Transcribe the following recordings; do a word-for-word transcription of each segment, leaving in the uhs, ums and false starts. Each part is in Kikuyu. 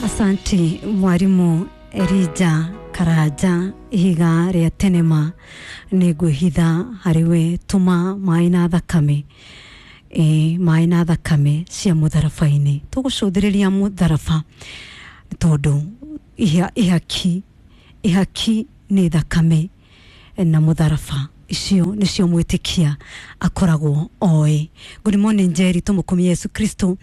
Asanti mwarimu Erija Karanja, ihiga rĩa tenema nĩ ngwĩhitha harĩ we, tũma maĩ na thakame, ĩ maĩ na thakame cia mũtharaba-inĩ. Tũgũcũthĩrĩria mũtharaba tondũ iha, ihaki ihaki nĩ thakame na mũtharaba, icio nĩcio mwĩtĩkia akoragwo oĩ. Good morning Njeri, tũmũkumie Yesu Kristo.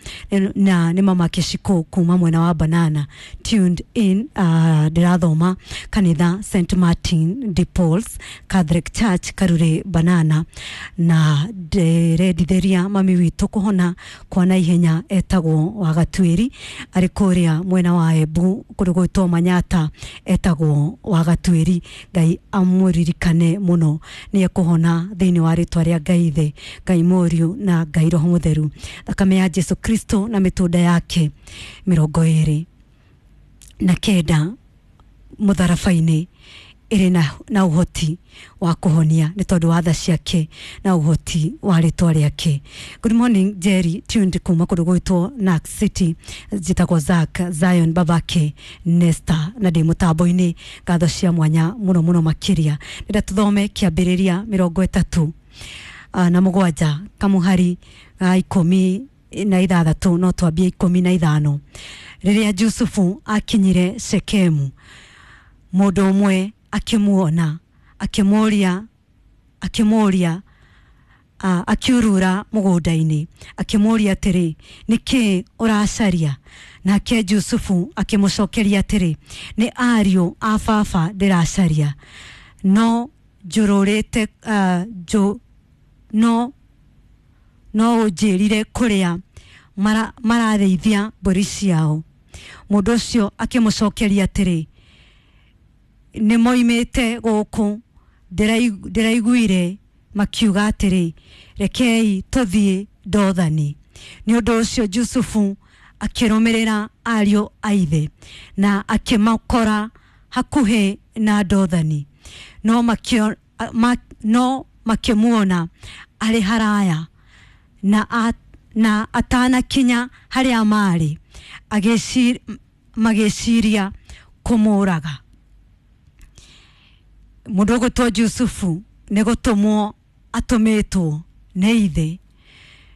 Na nĩ mama Kĩcikũ kuma mwena wa Banana tuned in. uh, ndĩrathoma kanitha Saint Martin de Pauls Catholic Church, Karure, Banana, na ndĩrendithĩria mami witũ kũhona kwa naihenya, etagwo Wagatuĩri, arĩ kũrĩa mwena wa Embu kũndũ gwĩtwo Manyata, etagwo Wagatuĩri. Ngai amũririkane mũno, nĩ ekũhona thĩinĩ wa rĩtwa rĩa Ngai Ithe, Ngai Mũriũ na Ngai Roho Mũtheru. Thakame ya Jesu Kristo na mĩtũnda yake mĩrongo ĩrĩ na kenda mũtharaba-inĩ ĩrĩ na, na ũhoti wa kũhonia nĩ tondũ wa tha ciake na ũhoti wa rĩtwa rĩake. Good morning Jerry, tuned kuma kũndũ gwĩtwo Nax City, njĩtagwo Zack Zion, babake Nesta, na ndĩ mũtambo-inĩ. Ngatho cia mwanya mũno mũno makĩria. Ndĩrenda tũthome Kĩambĩrĩria mĩrongo ĩtatũ uh, na mũgwanja kamuhari ga ikũmi na ithathatũ, no twambie ikũmi na ithano. Rĩrĩa Jusufu akinyire Shekemu, mũndũ ũmwe akĩmuona, akĩmũria akĩmũria uh, akiurura mũgũnda-inĩ, akĩmũria atĩrĩ, "Nĩ kĩĩ ũracaria?" Nake Jusufu akĩmũcokeria atĩrĩ, "Nĩ ariũ a baba ndĩracaria, no njũrũrĩte uh, njũ, no no ũnjĩrire kũrĩa mara, mararĩithia mbũri ciao." Mũndũ ũcio akĩmũcokeria atĩrĩ, "Nĩ moimĩte gũkũ, ndĩrai- ndĩraiguire makiuga atĩrĩ, 'Rekei tũthiĩ Dothani.'" Nĩ ũndũ ũcio Jusufu akĩrũmĩrĩra ariũ a ithe na akĩmakora hakuhĩ na Dothani, no makĩo- ma, no makĩmuona arĩ haraya na, a, na atanakinya harĩa maarĩ, agĩci- magĩciria kũmũraga. Mũndũ ũgwĩtwo Jusufu nĩ gũtũmwo atũmĩtwo nĩ ithe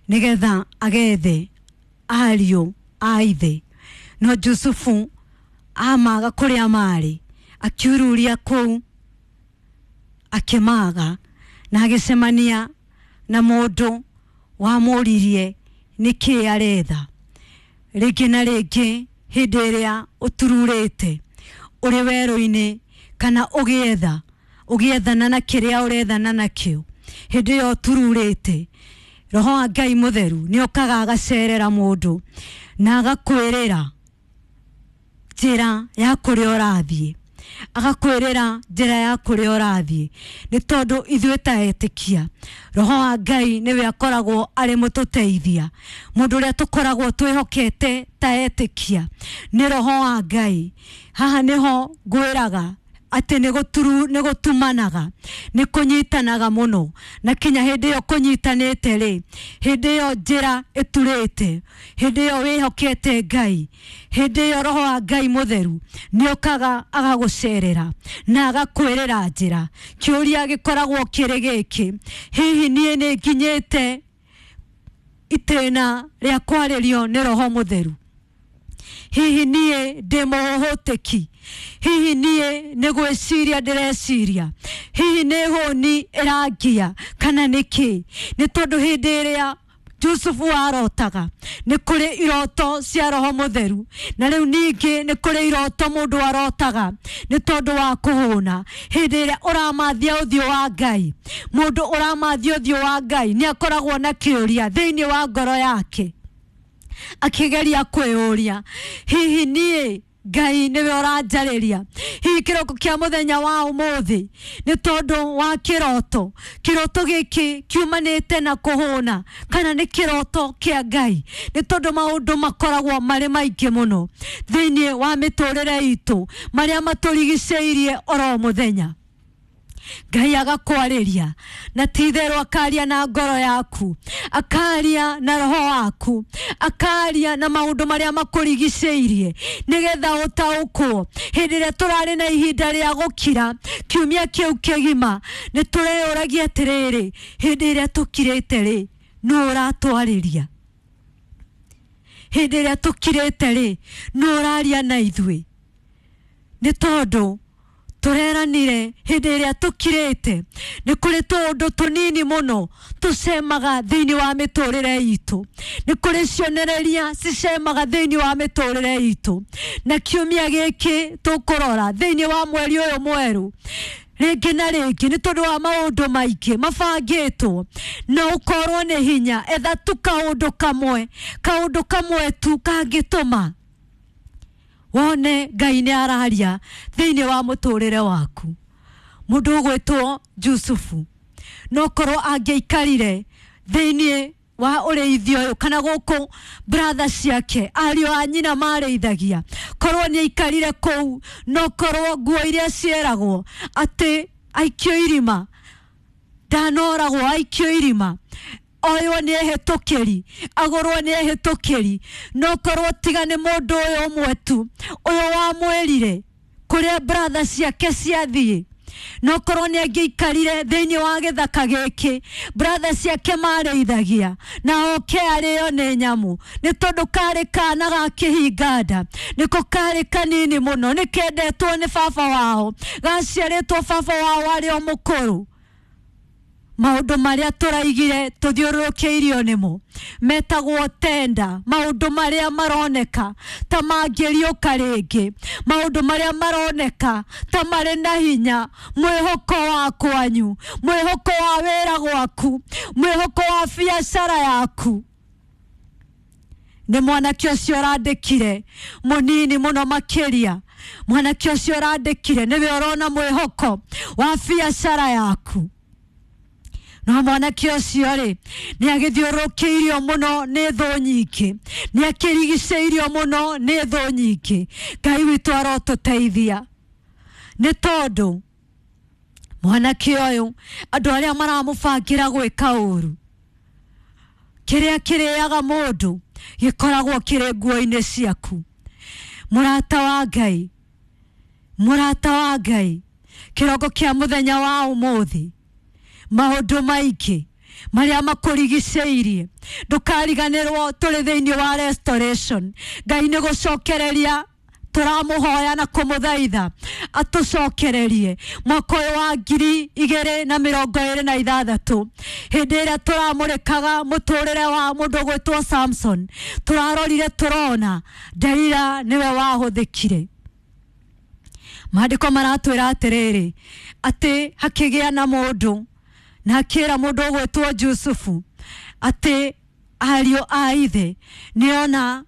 nĩgetha agethe ariũ a ithe, no Jusufu amaga kũrĩa marĩ, akiururia kũu akĩmaga, na agĩcemania na mũndũ wamũririe nĩkĩĩ aretha. Rĩngĩ na rĩngĩ, hĩndĩ ĩrĩa ũtururĩte ũrĩ werũ-inĩ kana ũgĩetha ũgĩethana na kĩrĩa ũrethana nakĩo, hĩndĩ ĩyo ũtururĩte, Roho wa Ngai Mũtheru nĩ okaga agacerera mũndũ na agakwĩrĩra njĩra ya kũrĩa ũrathiĩ, agakwĩrĩra njĩra ya kũrĩa ũrathiĩ. Nĩ tondũ ithuĩ ta etĩkia, Roho wa Ngai nĩwe akoragwo arĩ mũtũteithia. Mũndũ ũrĩa tũkoragwo twĩhokete ta etĩkia nĩ Roho wa Ngai. Haha nĩho ngwĩraga atĩ nĩ gũturu nĩ gũtumanaga, nĩ kũnyitanaga mũno, na kinya hĩndĩ ĩyo kũnyitanĩte rĩ, hĩndĩ ĩyo njĩra ĩturĩte, hĩndĩ ĩyo wĩhokete Ngai, hĩndĩ ĩyo Roho wa Ngai Mũtheru nĩ okaga agagũcerera na agakwĩrĩra njĩra. Kĩũria gĩkoragwo kĩrĩ gĩkĩ: hihi niĩ nĩ nginyĩte itĩna rĩa kwarĩrio nĩ Roho Mũtheru? Hihi niĩ ndĩ mũhũtĩki? Hihi niĩ nĩ gwĩciria ndĩreciria? Hihi nĩ hũni ĩrangia kana nĩ kĩ? Nĩ tondũ hĩndĩ ĩrĩa Jusufu arotaga, nĩ kũrĩ iroto cia Roho Mũtheru, na rĩu ningĩ nĩ kũrĩ iroto mũndũ arotaga nĩ tondũ wa kũhũna. Hĩndĩ ĩrĩa ũramathia ũthiũ wa Ngai, mũndũ ũramathia ũthiũ wa Ngai nĩ akoragwo na kĩũria thĩinĩ wa ngoro yake, akĩgeria kwĩyũria, "Hihi niĩ Ngai nĩwe ũranjarĩria hihi kĩroko kĩa mũthenya wa ũmũthĩ nĩ tondũ wa kĩroto? Kĩroto gĩkĩ kiumanĩte na kũhũna kana nĩ kĩroto kĩa Ngai?" Nĩ tondũ maũndũ makoragwo marĩ maingĩ mũno thĩinĩ wa mĩtũrĩre itũ marĩa matũrigicĩirie oro mũthenya. Ngai agakwarĩria na ti itherũ akaria na ngoro yaku, akaria na roho waku, akaria na maũndũ marĩa makũrigicĩirie nĩgetha ũtaũkwo. Hĩndĩ ĩrĩa tũrarĩ na ihinda rĩa gũkira kiumia kĩu kĩgima, nĩ tũreyũragia atĩrĩrĩ, hĩndĩ ĩrĩa tũkirĩte rĩ, nũ ũratwarĩria? Hĩndĩ ĩrĩa tũkirĩte rĩ, nũ ũraria na ithuĩ? Nĩ tondũ tũreranire hĩndĩ ĩrĩa tũkirĩte nĩ kũrĩ tũũndũ tũnini mũno tũcemaga thĩinĩ wa mĩtũrĩre itũ, nĩ kũrĩ cionereria cicemaga thĩinĩ wa mĩtũrĩre itũ. Na kiumia gĩkĩ tũkũrora thĩinĩ wa mweri ũyũ mwerũ rĩngĩ na rĩngĩ nĩ tondũ wa maũndũ maingĩ mabangĩtwo, na ũkorwo nĩ hinya etha tu kaũndũ kamwe, kaũndũ kamwe tu kangĩtũma wone Ngai nĩ araria thĩinĩ wa mũtũrĩre waku. Mũndũ ũgwĩtwo Jusufu no korwo angĩaikarire thĩinĩ wa ũrĩithio ũyũ kana gũkũ brother ciake ariũ a nyina marĩithagia, korwo nĩ aikarire kũu, no korwo nguo iria cieragwo atĩ aikio irima, ndanoragwo aikio irima, oywo nĩ ehĩtũkĩri, agũrwo nĩ ehĩtũkĩri, no korwo tiga nĩ mũndũ ũyũ ũmwe tu ũyũ wamwĩrire kũrĩa brother ciake ciathiĩ, no korwo nĩ angĩikarire thĩinĩ wa gĩthaka gĩkĩ brother ciake marĩithagia na oke arĩo nĩ nyamũ, nĩ tondũ karĩ kana ga kĩhinga nda, nĩko karĩ kanini mũno, nĩ kendetwo nĩ baba wao, gaciarĩtwo baba wao arĩ o mũkũrũ. Maũndũ marĩa tũraigire tũthiũrũrũkĩirio nĩmo metagwo tenda, maũndũ marĩa maroneka ta mangĩriũka rĩngĩ, maũndũ marĩa maroneka ta marĩ na hinya, mwĩhoko wa kwanyu, mwĩhoko wa wĩra gwaku, mwĩhoko wa biacara yaku. Nĩ mwanake ũcio ũrandĩkire mũnini mũno makĩria, mwanake ũcio ũrandĩkire nĩwe ũrona mwĩhoko wa biacara yaku. No mwanake ũcio rĩ, nĩ agĩthiũrũrũkĩirio mũno nĩ thũ nyingĩ, nĩ akĩrigicĩirio mũno nĩ thũ nyingĩ. Ngai witũ arotũteithia, nĩ tondũ mwanake ũyũ andũ arĩa maramũbangĩra gwĩka ũru, kĩrĩa kĩrĩaga mũndũ gĩkoragwo kĩrĩ nguo-inĩ ciaku. Mũrata wa Ngai, mũrata wa Ngai, kĩroko kĩa mũthenya wa ũmũthĩ, maũndũ maingĩ marĩa makũrigicĩirie, ndũkariganĩrwo tũrĩ thĩinĩ wa restoration. Ngai nĩ gũcokereria tũramũhoya na kũmũthaitha atũcokererie mwaka ũyũ wa ngiri igĩrĩ na mĩrongo ĩrĩ na ithathatũ. Hĩndĩ ĩrĩa tũramũrĩkaga mũtũrĩre wa mũndũ ũgwĩtwo Samson, tũrarorire tũrona Delila nĩwe wahũthĩkire. Maandĩko maratwĩra atĩrĩrĩ, atĩ hakĩgĩa na mũndũ na akĩra mũndũ ũgwĩtwo Jusufu atĩ ariũ a ithe nĩona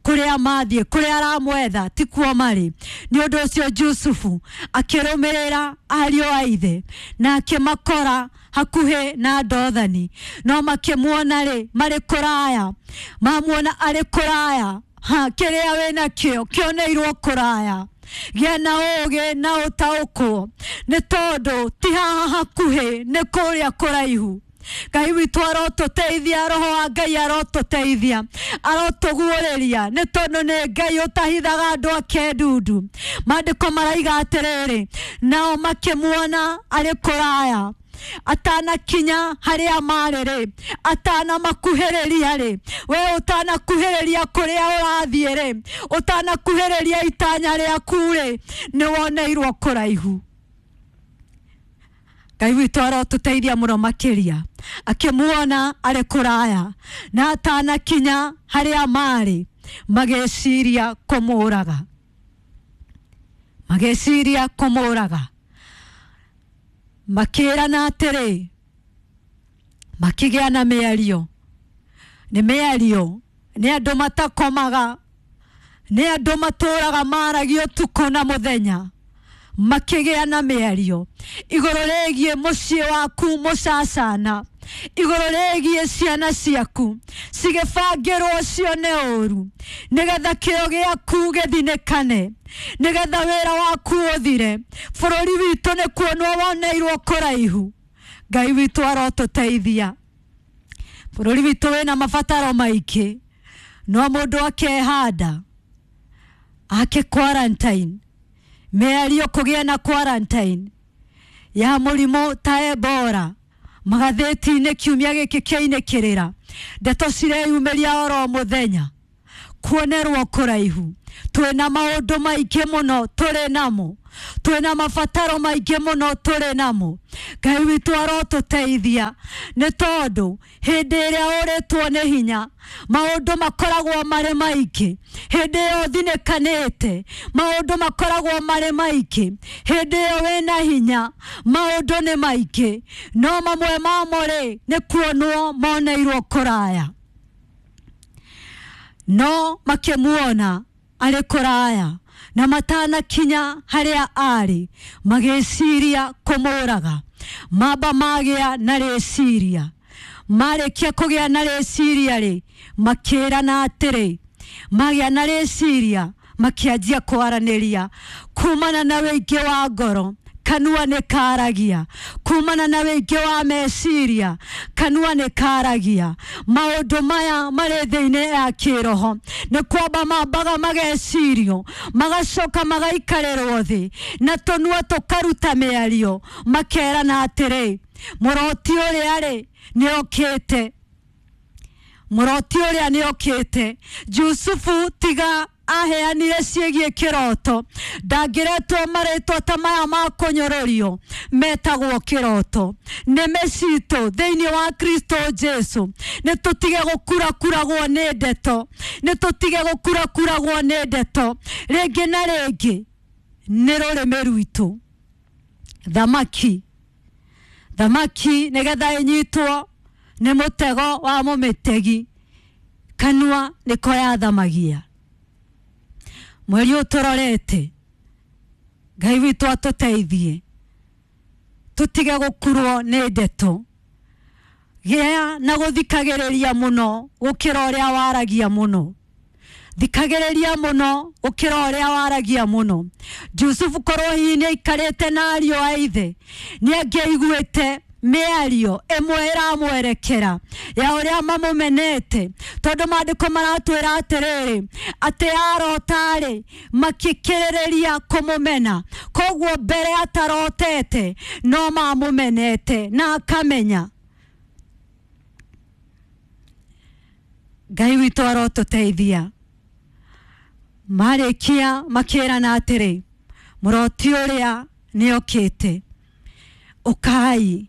kũrĩa mathiĩ, kũrĩa aramwetha tikuo marĩ. Nĩ ũndũ ũcio Jusufu akĩrũmĩrĩra ariũ a ithe na akĩmakora hakuhĩ na Dothani, no makĩmuona rĩ marĩ kũraya, mamuona arĩ kũraya, ha kĩrĩa wĩnakĩo kĩoneirwo kũraya. Gĩa na ũũgĩ na ũtaũkwo, nĩ tondũ ti haha hakuhĩ, nĩ kũrĩa kũraihu. Ngai witũ arotũteithia, roho wa Ngai arotũteithia, arotũguũrĩria, nĩ tondũ nĩ Ngai ũtahithaga andũ ake ndundu. Maandĩko maraiga atĩrĩrĩ, nao makĩmuona arĩ kũraya, atanakinya harĩa marĩ rĩ, atanamakuhĩrĩria rĩ, we ũtanakuhĩrĩria kũrĩa ũrathiĩ rĩ, ũtanakuhĩrĩria itanya rĩaku rĩ, nĩ woneirwo kũraihu. Ngai witũ arotũteithia mũno makĩria. Akĩmuona arĩ kũraya na atanakinya harĩa marĩ, magĩciria kũmũraga, magĩciria kũmũraga, makĩrana atĩrĩ, makĩgĩa na mĩario. Nĩ mĩario nĩ andũ matakomaga, nĩ andũ matũraga maragia ũtukũ na mũthenya, makĩgĩa na mĩario igũrũ rĩgiĩ mũciĩ waku mũcacana, Igũrũ rĩgiĩ ciana ciaku cigĩbangĩrwo cione ũru, nĩgetha kĩo gĩaku gĩthinĩkane, nĩgetha wĩra waku ũthire. Bũrũri witũ nĩ kuonwo woneirwo kũraihu. Ngai witũ arotũteithia. Bũrũri witũ wĩna mabataro maingĩ, no mũndũ akehanda ake quarantine, mĩario kũgĩa na quarantine ya mũrimũ ta Ebola magathĩti-inĩ kiumia gĩkĩ kĩainĩkĩrĩra, ndeto cireyumĩria oro mũthenya, kuonerwo kũraihu. Twĩna maũndũ maingĩ mũno tũrĩ namo, twĩna mabataro maingĩ mũno tũrĩ namo. Ngai witũ arotũteithia, nĩ tondũ hĩndĩ ĩrĩa ũrĩtwo nĩ hinya maũndũ makoragwo marĩ maingĩ. Hĩndĩ ĩyo ũthinĩkanĩte maũndũ makoragwo marĩ maingĩ. Hĩndĩ ĩyo wĩna hinya maũndũ nĩ maingĩ, no mamwe mamo rĩ nĩ kuonwo moneirwo kũraya. No makĩmuona arĩ kũraya na matanakinya harĩa arĩ, magĩciria kũmũraga. Mamba magĩa na rĩciria, marĩkia kũgĩa na rĩciria rĩ, makĩrana atĩrĩ, magĩa na rĩciria makĩanjia kwaranĩria kumana na wĩingĩ wa ngoro. Kanua nĩ karagia kumana na wĩingĩ wa meciria, kanua nĩ karagia. Maũndũ maya marĩ thĩinĩ ya kĩroho nĩ kwamba mambaga magecirio, magacoka magaikarĩrwo thĩ na tũnua tũkaruta mĩario, makerana atĩrĩ, mũroti ũrĩa rĩ nĩ okĩte, mũroti ũrĩa nĩ okĩte. Jusufu tiga aheanire ciĩgiĩ kĩroto, ndangĩretwo marĩtwa ta maya ma kũnyũrũrio metagwo kĩroto. Nĩme citũ thĩinĩ wa Kristo Jesu, nĩ tũtige gũkurakuragwo nĩ ndeto, nĩ tũtige gũkurakuragwo nĩ ndeto rĩngĩ na rĩngĩ. Nĩ rũrĩmĩ rwitũ. Thamaki, thamaki nĩgetha ĩnyitwo nĩ mũtego wa mũmĩtegi, kanua nĩko yathamagia. Mweri ũyũ tũrorete, Ngai witũ atũteithie tũtige gũkurwo nĩ ndeto. Gĩa na gũthikagĩrĩria mũno gũkĩra ũrĩa waragia mũno. Thikagĩrĩria mũno gũkĩra ũrĩa waragia mũno. Jusufu korwo hihi nĩ aikarĩte na ariũ a ithe, nĩ angĩaiguĩte mĩario ĩmwe ĩramwerekera ya ũrĩa mamũmenete, tondũ maandĩko maratwĩra atĩrĩrĩ, atĩ arota-rĩ makĩkĩrĩrĩria kũmũmena. Koguo mbere atarotete no mamũmenete na akamenya. Ngai witũ arotũteithia. Marĩkia makĩrana atĩrĩ, mũroti ũrĩa nĩokĩte, ũkai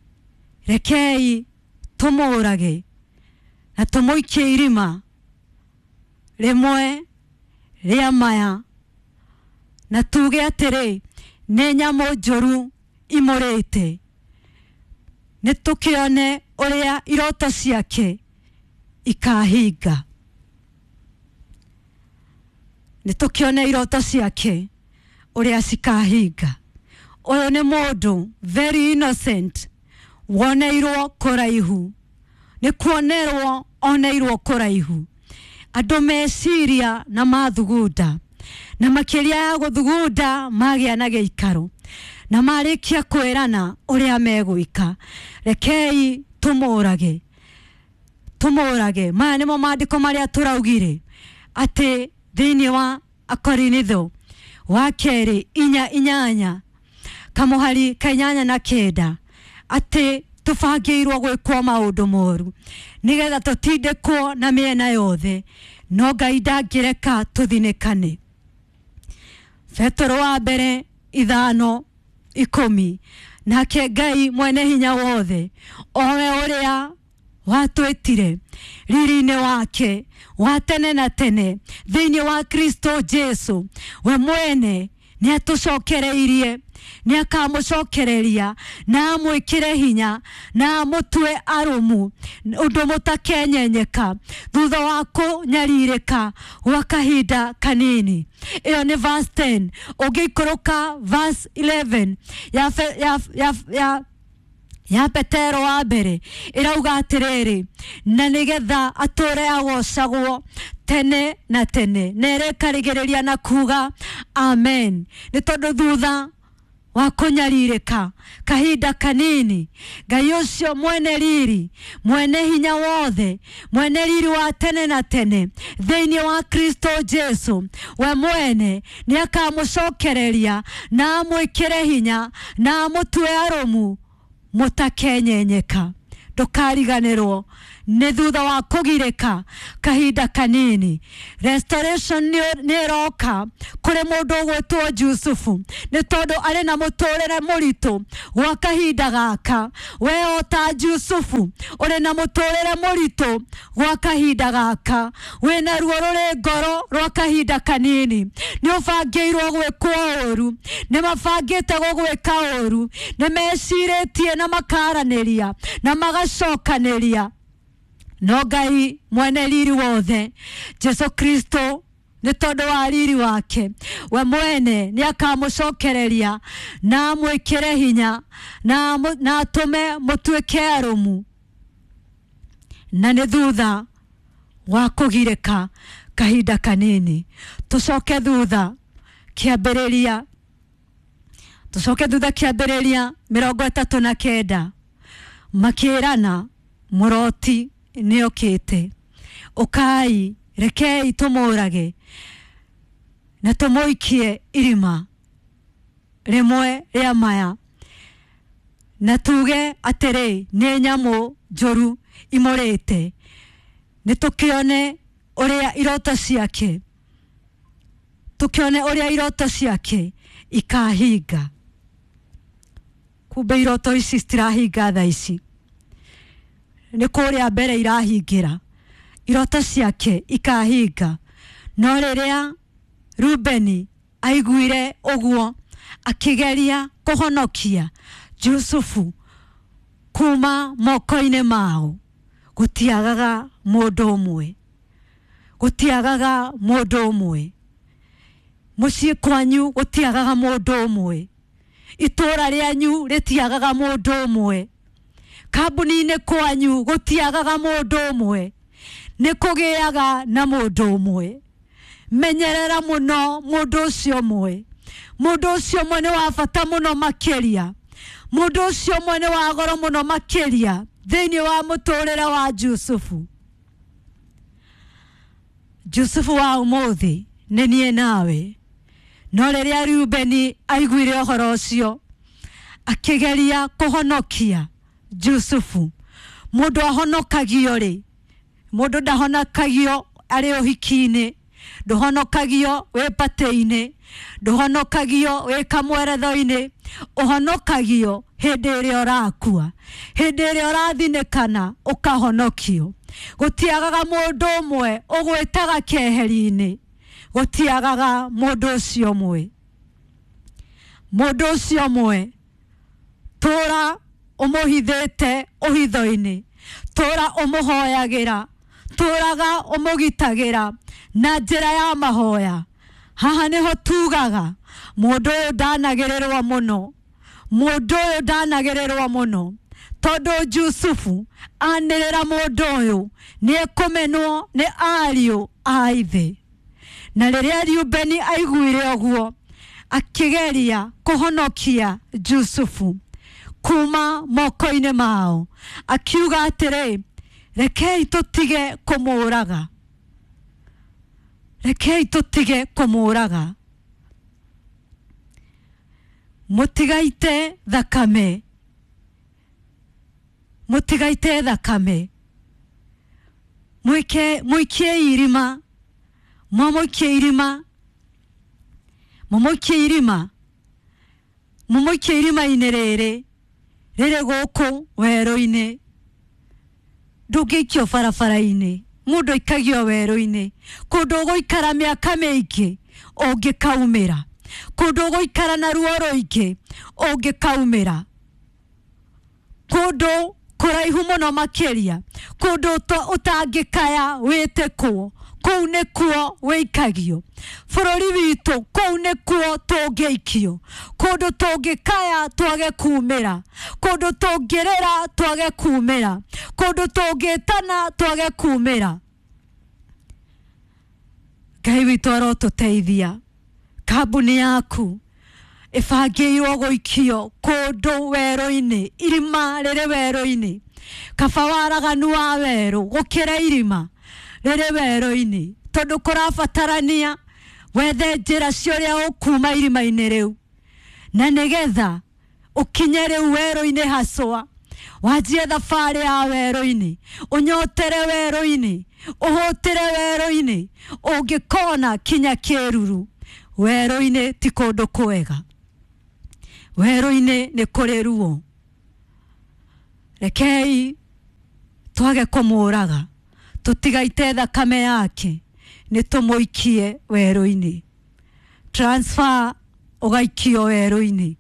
rekei tũmũrage na tũmũikie irima rĩmwe rĩa maya, na tuge atĩrĩ, nĩ nyamũ njũru imũrĩte, nĩ tũkĩone ũrĩa iroto ciake ikahinga. Nĩ tũkĩone iroto ciake ũrĩa cikahinga. Ũyũ nĩ mũndũ very innocent, woneirwo kũraihu, nĩ kuonerwo oneirwo kũraihu. Andũ meciria na mathugunda, na makĩria ya gũthugunda magĩa na gĩikaro, na marĩkia kwĩrana ũrĩa megwĩka, rekei tũmũrage, tũmũrage. Maya nĩmo maandĩko marĩa tũraugire atĩ thĩinĩ wa Akorinitho wa kerĩ inya inyanya kamũhari ka inyanya na kenda, atĩ tũbangĩirwo gwĩkwo maũndũ moru nĩgetha tũtindĩkwo na mĩena yothe, no Ngai ndangĩreka tũthinĩkane. Petero wa mbere ithano ikũmi, nake Ngai mwene hinya wothe, owe ũrĩa watwĩtire riri-inĩ wake wa tene na tene thĩinĩ wa Kristo Jesu, we mwene nĩ atũcokereirie, nĩ akamũcokereria na amwĩkĩre hinya na amũtue arũmu ũndũ mũtakenyenyeka thutha wa kũnyarirĩka gwa kahinda kanini. Ĩyo nĩ verse ten. Ũngĩikũrũka verse eleven ya, ya, ya, ya Ya Petero wa mbere ĩrauga atĩrĩrĩ, na nĩgetha atũre agocagwo tene na tene, na ĩrĩkarĩgĩrĩria na kuga amen. Nĩ tondũ thutha wa kũnyarirĩka kahinda kanini, Ngai ũcio mwene riri, mwene hinya wothe, mwene riri wa tene na tene thĩinĩ wa Kristo Jesu, we mwene nĩ akamũcokereria na amwĩkĩre hinya na amũtue arũmu mũtakenyenyeka. Ndũkariganĩrwo nĩ thutha wa kũgirĩka kahinda kanini, restoration nĩ ĩroka kũrĩ mũndũ ũgwĩtwo Jusufu, nĩ tondũ arĩ na mũtũrĩre mũritũ gwa kahinda gaka. We o ta Jusufu ũrĩ na mũtũrĩre mũritũ gwa kahinda gaka, wĩna ruo rũrĩ ngoro rwa kahinda kanini, nĩ ũbangĩirwo gwĩkwo ũru, nĩ mabangĩte gũgwĩka ũru, nĩ mecirĩtie na makaranĩria na magacokanĩria, no Ngai mwene riri wothe Jesu Kristo, nĩ tondũ wa riri wake, we mwene nĩ akamũcokereria na amwĩkĩre hinya na na atũme mũtuĩke arũmu. Na nĩ thutha wa kũgirĩka kahinda kanini. Tũcoke thutha kĩambĩrĩria, tũcoke thutha kĩambĩrĩria mĩrongo ĩtatũ na kenda, makĩrana mũroti nĩokĩte, ũkai rekei tũmũrage na tũmũikie irima rĩmwe rĩa maya, na tuge atĩrĩ nĩ nyamũ njũru imũrĩte, nĩ tũkĩone ũrĩa iroto ciake, tũkĩone ũrĩa iroto ciake ikahinga. Kumbe iroto ici citirahinga thaa ici, nĩ kũrĩa mbere irahingĩra, iroto ciake ikahinga. No rĩrĩa Rubeni aiguire ũguo, akĩgeria kũhonokia Jusufu kuma moko-inĩ mao. Gũtiagaga mũndũ ũmwe, gũtiagaga mũndũ ũmwe mũciĩ kwanyu, gũtiagaga mũndũ ũmwe itũra rĩanyu, rĩtiagaga mũndũ ũmwe kambuni-inĩ kwanyu, gũtiagaga mũndũ ũmwe, nĩ kũgĩaga na mũndũ ũmwe. Menyerera mũno mũndũ ũcio ũmwe. Mũndũ ũcio ũmwe nĩ wa bata mũno makĩria, mũndũ ũcio ũmwe nĩ wa goro mũno makĩria thĩinĩ wa mũtũrĩre wa Jusufu. Jusufu wa ũmũthĩ nĩ niĩ nawe. No rĩrĩa Rubeni aiguire ũhoro ũcio, akĩgeria kũhonokia Jusufu. Mũndũ ahonokagio rĩ, mũndũ ndahonokagio arĩ ũhiki-inĩ, ndũhonokagio wĩ patĩ-inĩ, ndũhonokagio wĩ kamweretho-inĩ, ũhonokagio hĩndĩ ĩrĩa ũrakua, hĩndĩ ĩrĩa ũrathinĩkana ũkahonokio. Gũtiagaga mũndũ ũmwe ũgwĩtaga keheri-inĩ, gũtiagaga mũndũ ũcio ũmwe. Mũndũ ũcio ũmwe tũra ũmũhithĩte ũhitho-inĩ, tũra ũmũhoyagĩra, tũraga ũmũgitagĩra na njĩra ya mahoya. Haha nĩho tugaga mũndũ ũyũ ndanagĩrĩrwo mũno, mũndũ ũyũ ndanagĩrĩrwo mũno, tondũ Jusufu anĩrĩra mũndũ ũyũ nĩ ekũmenwo nĩ ariũ a ithe. Na rĩrĩa Rubeni aiguire ũguo, akĩgeria kũhonokia Jusufu kuma moko-inĩ mao, akiuga atĩrĩ, rekei tũtige kũmũraga, rekei tũtige kũmũraga, mũtigaite thakame, mũtigaite thakame, mwike mũikie irima, mwamũikie irima, mũmũikie irima, mũmũikie irima-inĩ rĩrĩ rĩrĩ gũkũ werũ-inĩ. Ndũngĩikio barabara-inĩ, mũndũ aikagio werũ-inĩ, kũndũ ũgũikara mĩaka mĩingĩ ũngĩkaumĩra, kũndũ ũgũikara na ruo rũingĩ ũngĩkaumĩra, kũndũ kũraihu mũno makĩria, kũndũ ũtangĩkaya wĩtĩkwo, Kũu nĩkuo wĩikagio. Bũrũri witũ kũu nĩkuo tũngĩikio. Kũndũ tũngĩkaya twage kumĩra. Kũndũ tũngĩrĩra twage kumĩra. Kũndũ tũngĩtana twage kumĩra. Ngai witũ arotũteithia. Kambuni yaku ĩbangĩirwo gũikio kũndũ werũ-inĩ, irima rĩrĩ werũ-inĩ. Kaba waraganu wa werũ gũkĩra irima rĩrĩ werũ-inĩ, tondũ kũrabatarania wethe njĩra cia ũrĩa ũkuma irima-inĩ rĩu, na nĩgetha ũkinye rĩu werũ-inĩ haswa, wanjie thabarĩ ya werũ-inĩ, ũnyotere werũ-inĩ, ũhũtĩre werũ-inĩ, ũngĩkona kinya kĩruru. Werũ-inĩ ti kũndũ kwega. Werũ-inĩ nĩ kũrĩ ruo. Rekei twage kũmũraga, tũtigaite thakame yake, nĩ tũmũikie werũ-inĩ. Transfer ũgaikio werũ-inĩ.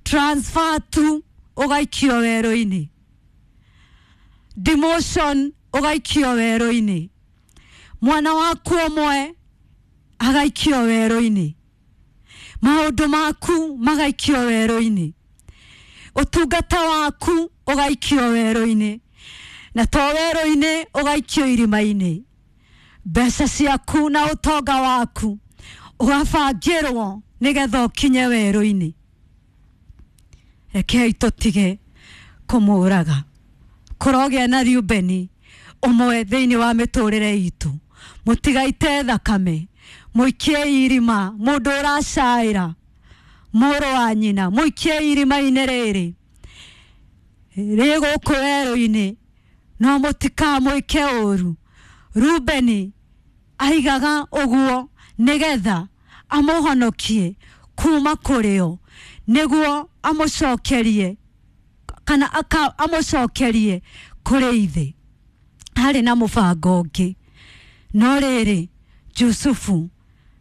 Transfer tu ũgaikio werũ-inĩ. Demotion ũgaikio werũ-inĩ. Mwana waku ũmwe agaikio werũ-inĩ. Maũndũ maku magaikio werũ-inĩ. Ũtungata waku ũgaikio werũ-inĩ. Na to werũ-inĩ ũgaikio irima-inĩ. Mbeca ciaku na ũtonga waku ũgabangĩrwo nĩgetha ũkinye werũ-inĩ. Rekei tũtige kũmũraga. Kũrogĩa na Reubeni ũmwe thĩinĩ wa mĩtũrĩre itũ. Mũtigaite thakame, mũikie irima mũndũ ũracaĩra mũrũ wa nyina, mũikie irima-inĩ rĩrĩ rĩ gũkũ werũ-inĩ, no mũtikamwĩke ũru. Rubeni aigaga ũguo nĩgetha amũhonokie kuma kũrĩ o, nĩguo amũcokerie kana amũcokerie kũrĩ ithe. Harĩ na mũbango ũngĩ. No rĩrĩ, Jusufu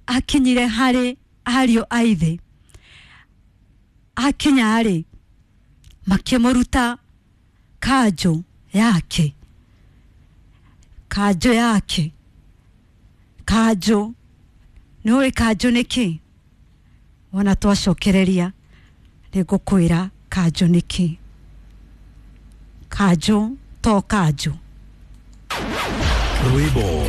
akinyire harĩ ariũ a ithe. Akinya rĩ, makĩmũruta kanjũ yake. Kanjũ yake. Kanjũ. Nĩũĩ kanjũ nĩ kĩ? Wona twacokereria nĩngũkwĩra kanjũ nĩ kĩ. Kanjũ to kanjũ. Rwĩmbo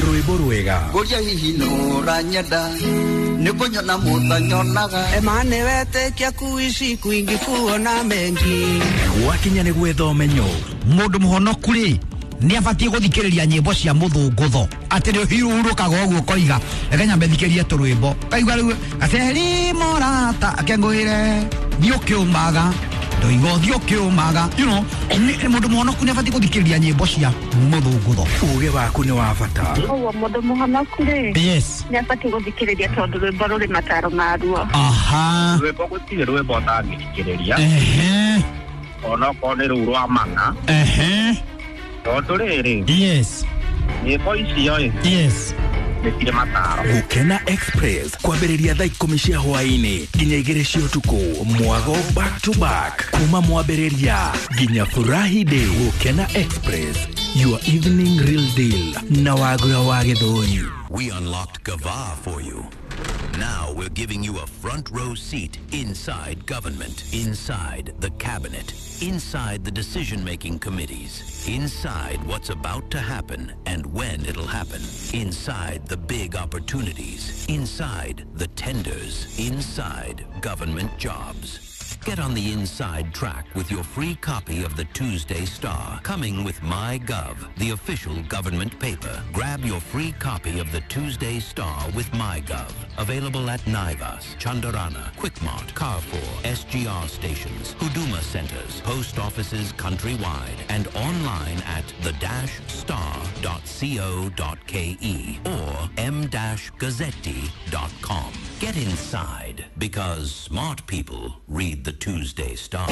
rwĩmbo rwega Ngoria hihi nũranyenda nĩkũnyona mũtanyonaga Emane wetĩkia kuishi kwingi kuona mengi gwakinya nĩ gwetha ũmenyo. Mũndũ mũhonoku rĩ nĩ abatiĩ gũthikĩrĩria nyĩmbo cia mũthũngũtho atĩ nĩ ũhurũkaga ũguo ũkoiga reke nyambe thikĩrie tũrwĩmbo kaigua rĩu gaceri mũrata akengũĩre thiĩ ũkĩũmaga ndoiga ũthiĩ ũkĩũmaga, you know, mũndũ mũhonoku nĩ abatiĩ gũthikĩrĩria nyĩmbo cia mũthũngũtho. Ũgĩ waku nĩ wa bata. Ũguo mũndũ mũhonoku rĩ, yes, nĩ abatiĩ gũthikĩrĩria tondũ rwĩmbo rũrĩ mataro maruo. Aha, rwĩmbo gũtirĩ rwĩmbo ũtangĩthikĩrĩria, ehe, onokorwo nĩ rũu rwa mana, ehe, tondũ rĩrĩ, yes, nyĩmbo icio ĩ, yes, nĩ cirĩ mataro. Gũkena Express kwambĩrĩria thaa ikũmi cia hwaĩ-inĩ nginya igĩrĩ cia ũtukũ, mwago back to back kuma mwambĩrĩria nginya Furahi Day. Gũkena Express, your evening real deal na Wagura wa Gĩthũri. We unlocked Gava for you. Now we're giving you a front row seat inside government, inside the cabinet, inside the decision-making committees, inside what's about to happen and when it'll happen, inside the big opportunities, inside the tenders, inside government jobs. Get on the inside track with your free copy of the Tuesday Star, coming with MyGov, the official government paper. Grab your free copy of the Tuesday Star with MyGov. Available at Naivas, Chandarana, Quickmart, Carrefour, S G R stations, Huduma centers, post offices countrywide, and online at the dash star dot co dot ke or m dash gazzetti dot com. Get inside, because smart people read the Tuesday Star.